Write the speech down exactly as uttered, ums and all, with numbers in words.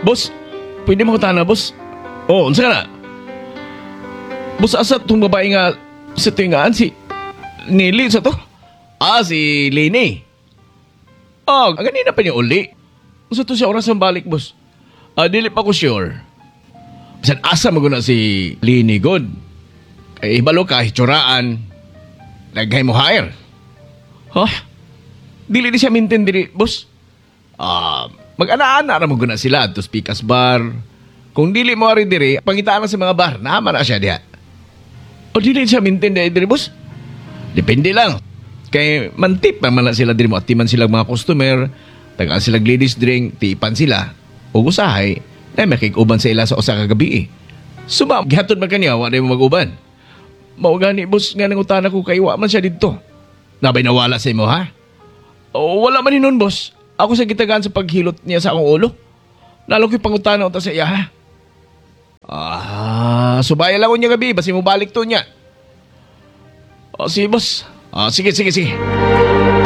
Boss, pwede mo tana, boss? Oh, unsa ka na? Boss, asa tong babae nga sa tingaan si Nili sa to? Ah, si Lini. Oh, ganina pa niya uli. Unsa to siya oras ang balik, boss? Ah, dili pa ko sure. Bisan asa mo guna si Lini god. Kay ibalo ka, hitsuraan. Naghay mo hire. Huh? Dili di siya maintain diri, boss. Ah, mag-ana-ana ra mo guna sila to Pikas Bar. Kung dili mo ari diri, pangitaan na sa mga bar, naman na siya diha. O dili siya maintain diri, diri, boss? Depende lang. Kay mantip man na sila diri mo atiman sila mga customer, tagaan sila ladies drink, tipan sila. Ug usahay, na makig-uban sa ila sa usa ka gabi eh. Suma, gihatod man kaniya, wa mo mag-uban. Mao gani boss nga nangutana ko kay wa man siya didto. Nabay nawala sa imo ha? O, wala man hinon boss. Ako sa gitagaan sa paghilot niya sa akong ulo. Lalo ko'y pangutana unta sa iya ha. Ah, subaya lang niya gabi, basi mo balik to niya. O, sige boss. Ah, sige, sige, sige.